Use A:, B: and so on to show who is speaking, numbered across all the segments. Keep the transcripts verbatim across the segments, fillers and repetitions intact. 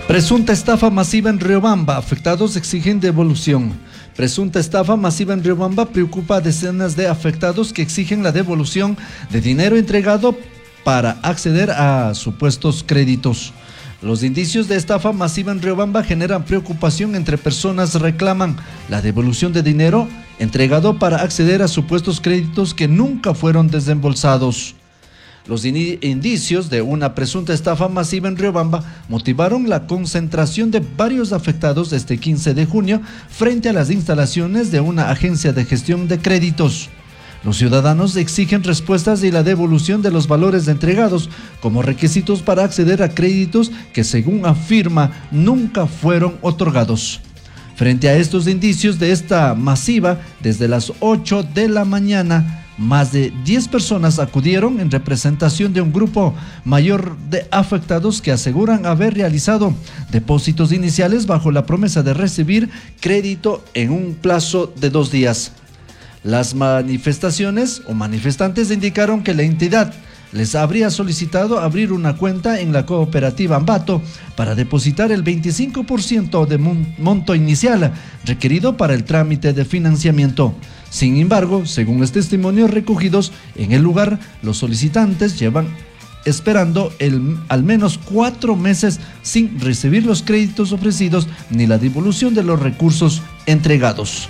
A: Presunta estafa masiva en Riobamba, afectados exigen devolución. Presunta estafa masiva en Riobamba preocupa a decenas de afectados que exigen la devolución de dinero entregado para acceder a supuestos créditos. Los indicios de estafa masiva en Riobamba generan preocupación entre personas reclaman la devolución de dinero entregado para acceder a supuestos créditos que nunca fueron desembolsados. Los indicios de una presunta estafa masiva en Riobamba motivaron la concentración de varios afectados este quince de junio frente a las instalaciones de una agencia de gestión de créditos. Los ciudadanos exigen respuestas y la devolución de los valores entregados como requisitos para acceder a créditos que, según afirma, nunca fueron otorgados. Frente a estos indicios de esta masiva, desde las ocho de la mañana, más de diez personas acudieron en representación de un grupo mayor de afectados que aseguran haber realizado depósitos iniciales bajo la promesa de recibir crédito en un plazo de dos días. Las manifestaciones o manifestantes indicaron que la entidad les habría solicitado abrir una cuenta en la cooperativa Ambato para depositar el veinticinco por ciento de monto inicial requerido para el trámite de financiamiento. Sin embargo, según los testimonios recogidos en el lugar, los solicitantes llevan esperando el, al menos cuatro meses sin recibir los créditos ofrecidos ni la devolución de los recursos entregados.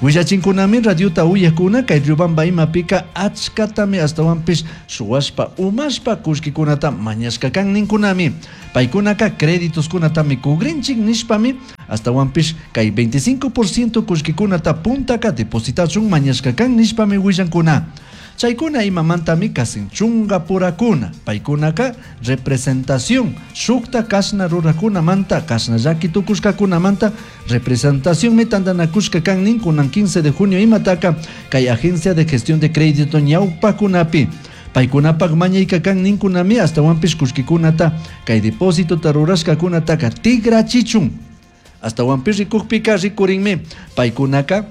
A: Willachinkunami radiota uyakuna kay Riobamba imapika achkatami astawanpish shuwashpa umashpa kullkikunata mañashka kan ninkunami. Paykunaka créditos kunatami kugrinchik nishpami astawanpish kay veinticinco por ciento kullkikunata puntaka depositachun mañashka kan nishpami willankuna. Chaykuna imamantami kasin chunga purakuna. Paykunaka representación shukta kashna rurakunamanta kashna llaki tukushkakunamanta representación mitandanakushka kan ninkunan quince de junio imataka kay agencia de gestión de crédito ñawpakunapi. Paykunapak mañayka kan ninkunami astawanpish kullkikunata kay depósito tarurashkakunataka tigrachichun. Astawanpish rikukpika rikurinmi paykunaka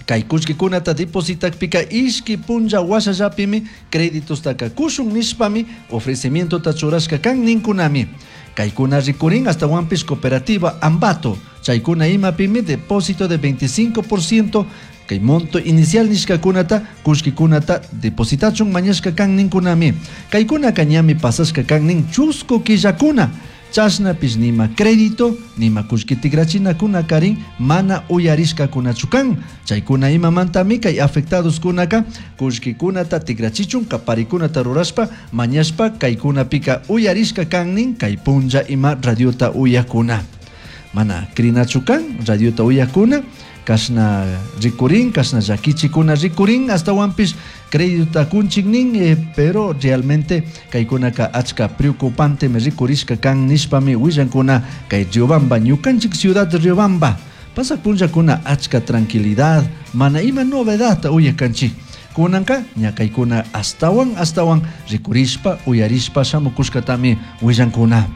A: kay kullkikunata depositakpika ishki punlla washallapimi créditos taka kushun nishpami ofrecimiento churashka kan ninkunami. Kaykuna rikurin astawanpish cooperativa Ambato chaykuna imapimi depósito de veinticinco por ciento kay monto inicial nishkakunata kullkikunata depositachun mañashka kan ninkunami. Kaykuna kañami pasashka kan nin chusku killakuna. Chashnapish nima crédito, nima kullki tigrachinakuna karin mana uyarishkakunachu kan. Chaykuna imamantami kay afectados kunaka kullkikunata tigrachichun kaparikunata rurashpa mañashpa kaykunapika uyarishka kan nin kay punlla ima radiota uyakuna. Mana krinachu kan radiota uyakuna kashna rikurin, kashna llakichikuna rikurin, astawanpish crédito kunchik nin, eh, pero realmente kaykunaka achka preocupante me rikurishka kan nishpami willankuna kay Riobamba, ñukanchik ciudad de Riobamba. Pasak punllakuna achka tranquilidad, mana ima novedad uyakanchik. Kunanka ñakaykuna astawan astawan rikurishpa uyarishpa shamukushkatami willankuna.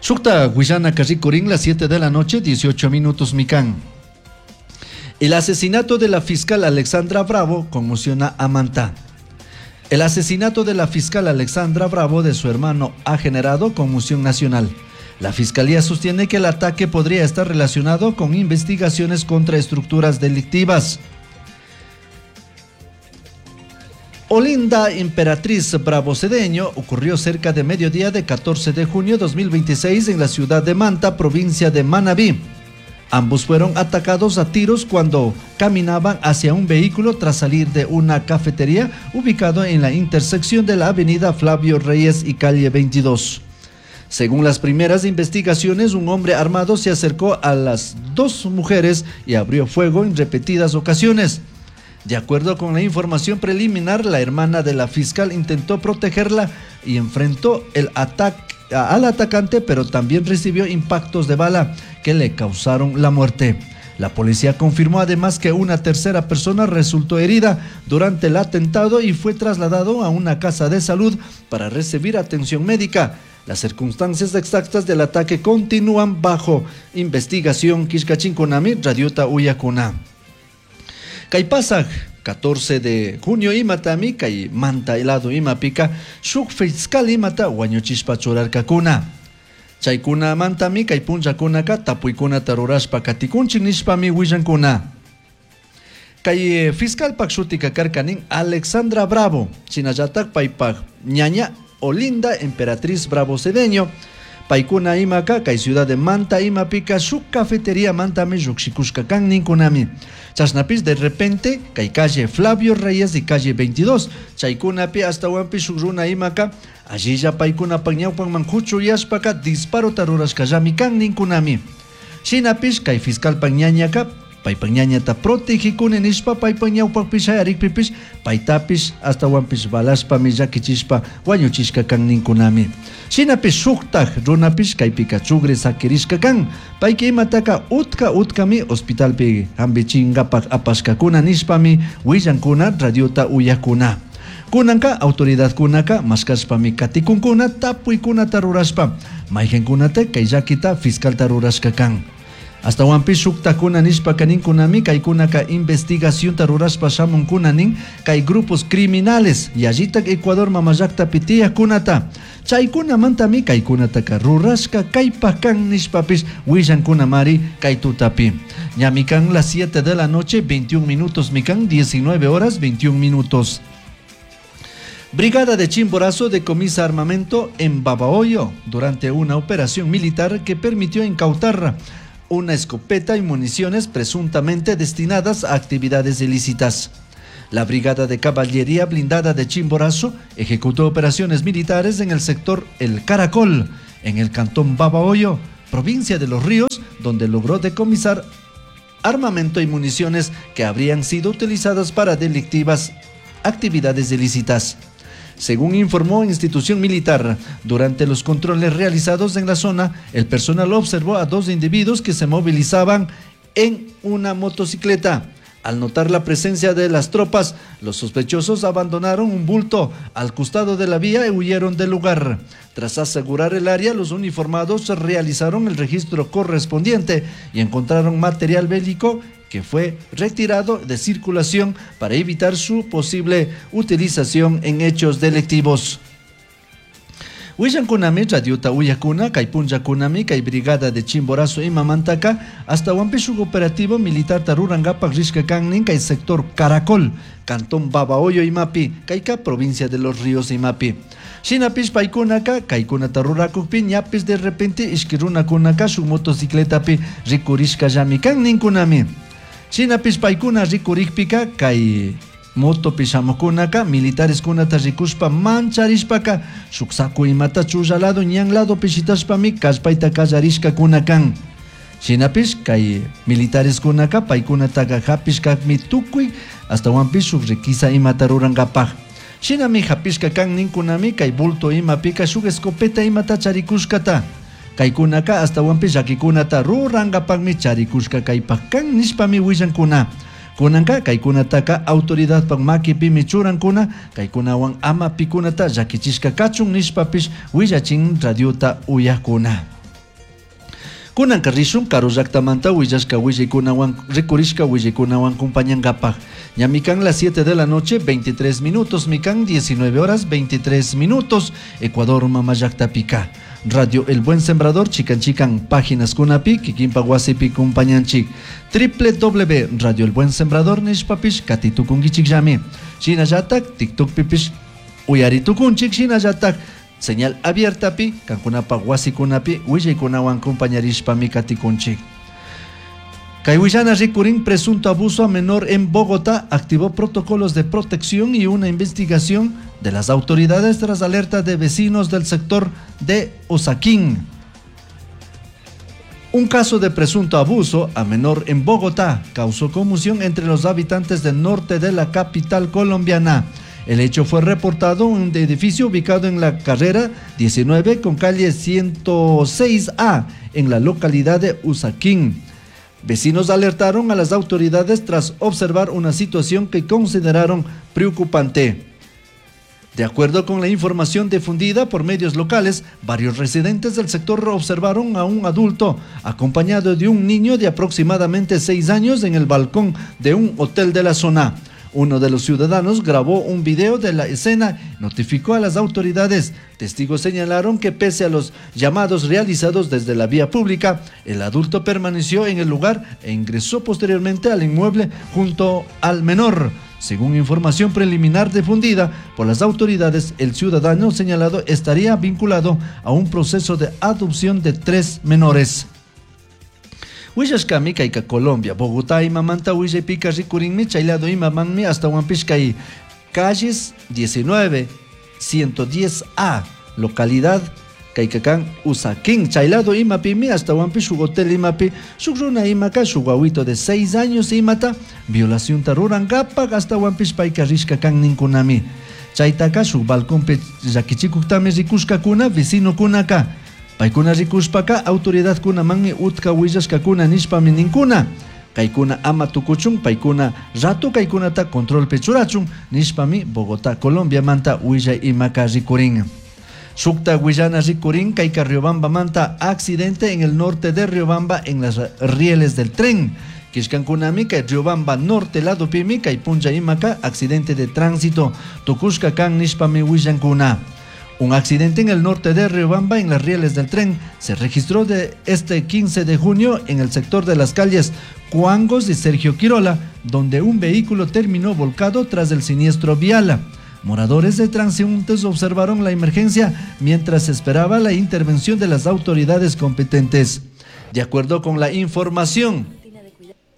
A: Shukta willanaka rikurin las siete de la noche, dieciocho minutos mikan. El asesinato de la fiscal Alexandra Bravo conmociona a Manta. El asesinato de la fiscal Alexandra Bravo de su hermano ha generado conmoción nacional. La fiscalía sostiene que el ataque podría estar relacionado con investigaciones contra estructuras delictivas. Olinda Emperatriz Bravo Cedeño ocurrió cerca de mediodía de catorce de junio de dos mil veintiséis en la ciudad de Manta, provincia de Manabí. Ambos fueron atacados a tiros cuando caminaban hacia un vehículo tras salir de una cafetería ubicado en la intersección de la avenida Flavio Reyes y calle veintidós. Según las primeras investigaciones, un hombre armado se acercó a las dos mujeres y abrió fuego en repetidas ocasiones. De acuerdo con la información preliminar, la hermana de la fiscal intentó protegerla y enfrentó el ataque al atacante, pero también recibió impactos de bala que le causaron la muerte. La policía confirmó además que una tercera persona resultó herida durante el atentado y fue trasladado a una casa de salud para recibir atención médica. Las circunstancias exactas del ataque continúan bajo investigación. Quishkachinkunami, Radiota Uyakuna. Kaypasaj, catorce de junio imatami, kay manta helado imapika, shuk fiscal imata wañuchishpa churarkakuna. Chaykunamantami kay punllakunaka tapuykunata rurashpa katikunchik nishpami willankuna. Kay fiscalpak shutika karkanin Alexandra Bravo, shinallatak paypak ñaña Olinda Emperatriz Bravo Cedeño. Paykuna imaka kay ciudad de Manta imapika shuk cafetería mantami llukshikushka kan ninkunami. Chashnapis de repente kay calle Flavio Reyes y calle veintidós chaykunapi astawanpi shuk runa imaka allilla paykunapak ñawpanman kuchuyashpaka disparota rurashkallami kan ninkunami. Shinapish kay fiscalpak ñañaka paypak ñañata protegikuni nishpa paypak ñawpakpi shayarikpipish paytapish astawanpish balashpami llakichishpa wañuchishka kan ninkunami. Shinapish shuktak runapish kaypika chugri sakirishka kan payka imataka utka utkami hospitalpi hampichinkapak apashkakuna nishpami willankuna radiota uyakuna. Kunanka autoridadkunaka mashkashpami katikunkuna tapuykunata rurashpa mayqinkunata kay llakita fiscalta rurashka kan. Astawanpish shuktakuna nishpaka ninkunami kaykunaka investigacionta rurashpa shamunkuna nin kay grupos criminales yallitak Ecuador mamallaktapi tiyakkunata chaykunamantami kaykunataka rurashka kaypak kan nishpapish willankunamari kay tutapi. Ñami kan las siete de la noche veintiún minutos, mikan diecinueve horas veintiún minutos. Brigada de Chimborazo decomisa armamento en Babahoyo durante una operación militar que permitió incautar una escopeta y municiones presuntamente destinadas a actividades ilícitas. La Brigada de Caballería Blindada de Chimborazo ejecutó operaciones militares en el sector El Caracol, en el cantón Babahoyo, provincia de Los Ríos, donde logró decomisar armamento y municiones que habrían sido utilizadas para delictivas actividades ilícitas. Según informó institución militar, durante los controles realizados en la zona, el personal observó a dos individuos que se movilizaban en una motocicleta. Al notar la presencia de las tropas, los sospechosos abandonaron un bulto al costado de la vía y huyeron del lugar. Tras asegurar el área, los uniformados realizaron el registro correspondiente y encontraron material bélico que fue retirado de circulación para evitar su posible utilización en hechos delictivos. Willankunami radiota uyakuna kay punllakunami kay brigada de Chimborazo imamantaka hasta shuk operativo militar rurankapak rishka kannin kay sector Caracol, cantón Babahoyo imapi, kayka provincia de Los Ríos imapi. Shinapish paykunaka kaykunata rurakukpi ñapis de repente ishki runakunaka shuk motocicletapi rikurishkallami kan ninkunami. Shinapish paykuna rikurikpika kay motopi shamukunaka militares kunata rikushpa mancharishpaka shuk saku imata chulla lado ñan lado pishitashpami kallpayta kallarishkakuna kan. Shinapish kay militares kunaka paykunataka hapishkakmi tukuy astawanpish shuk requisa imata rurankapaj. Shinami hapishka kan ninkunami kay bulto imapika shuk escopeta imata charikushkata. Kaykunaka astawanpish llakikunata rurankapakmi charikushka kaypak kan nishpami willankuna. Kunanka kaykunataka autoridadpak makipimi churankuna kaykunawan ama pikunata llakichishka kachun nishpapish willachin radiota uyakuna. Kunanka rishun karu llaktamanta willashka willaykunawan rikurishka willaykunawan kumpañankapaj. Ñamikan las siete de la noche veintitrés minutos, mikan diecinueve horas veintitrés minutos, Ecuador mama llaktapika. Radio El Buen Sembrador, chican chican páginas kunapi, kikinpa wasipi kumpañanchik. triple w Radio El Buen Sembrador nishpapish katitukunkichik llami. Shinallatak TikTok pipish uyaritukunchik, shinallatak señal abiertapi, kankunapa wasikunapi, willaykunawan kumpañarishpami katikunchik. Kay willana rikurin presunto abuso a menor en Bogotá activó protocolos de protección y una investigación de las autoridades tras alerta de vecinos del sector de Usaquén. Un caso de presunto abuso a menor en Bogotá causó conmoción entre los habitantes del norte de la capital colombiana. El hecho fue reportado en un edificio ubicado en la carrera diecinueve con calle ciento seis A en la localidad de Usaquén. Vecinos alertaron a las autoridades tras observar una situación que consideraron preocupante. De acuerdo con la información difundida por medios locales, varios residentes del sector observaron a un adulto acompañado de un niño de aproximadamente seis años en el balcón de un hotel de la zona. Uno de los ciudadanos grabó un video de la escena, notificó a las autoridades. Testigos señalaron que pese a los llamados realizados desde la vía pública, el adulto permaneció en el lugar e ingresó posteriormente al inmueble junto al menor. Según información preliminar difundida por las autoridades, el ciudadano señalado estaría vinculado a un proceso de adopción de tres menores. Willashkami kayka Colombia, Bogotá imamanta willaypika rikurinmi chaylado imamanmi hasta kay calles diecinueve ciento diez A, localidad kayka kan Usaquén, chaylado imapimi hasta shuk hotel imapi shuk runa imaka shuk wawito de seis años imata violación ta rurankapak hasta payka rishka kan ninkunami. Chaytaka shuk balconpi llakichikuktami rikushkakuna vecinokunaka. Paykuna rikushpaka autoridadkunamanmi utka willashkakuna nishpami ninkuna. Kaykuna ama tukuchun, paykuna rato kaykunata controlpi churachun nishpami Bogotá, Colombia manta willay imaka rikurin. Shukta willana rikurin kayka Riobamba manta accidente en el norte de Riobamba en las rieles del tren. Kishkankunami kay Riobamba norte lado pimi kay punlla imaka accidente de tránsito tukushka kan nishpami willankuna. Un accidente en el norte de Riobamba en las rieles del tren se registró de este quince de junio en el sector de las calles Cuangos y Sergio Quirola, donde un vehículo terminó volcado tras el siniestro vial. Moradores de transeúntes observaron la emergencia mientras esperaba la intervención de las autoridades competentes. De acuerdo con la información,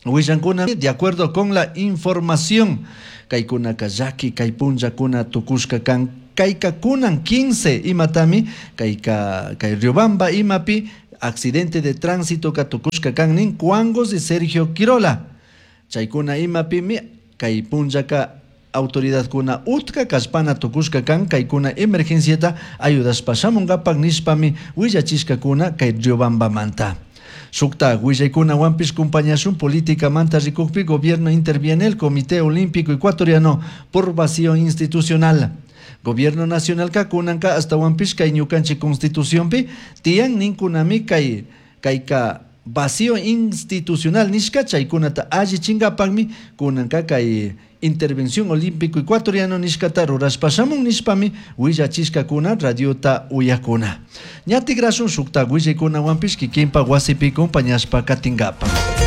A: Huillancuna, de acuerdo con la información, Kaikuna Kayaki, Kaipunja Kuna Tukushka Kan, Kaika Kunan quince, Imatami, Kaika, Kai Riobamba, Imapi, accidente de tránsito Katukushka Kannin, Cuangos y Sergio Quirola. Chaykuna Imapimi, Kaipunjaka autoridad kuna utka kashpana tukushka kan kaykuna emergenciata ayudashpa shamunkapak nishpami willachishka kuna kay Riobamba manta. Shukta willaykuna wampish kumpañashun política manta rikukpi gobierno interviene el Comité Olímpico Ecuatoriano por vacío institucional. Gobierno nacional ka kunanka hasta wampish kay ñukanchik constitucionpi tiyan ninkunami kay kayka vacío institucional nishka chaykunata allichinkapakmi kunanka kay intervención olímpico ecuatoriano nishkata rurashpa shamun nishpami willachishkakuna radiota uyakuna. Ñatigrasun shukta willaykunawanpish kikinpa wasipi kumpañashpa katinkapak.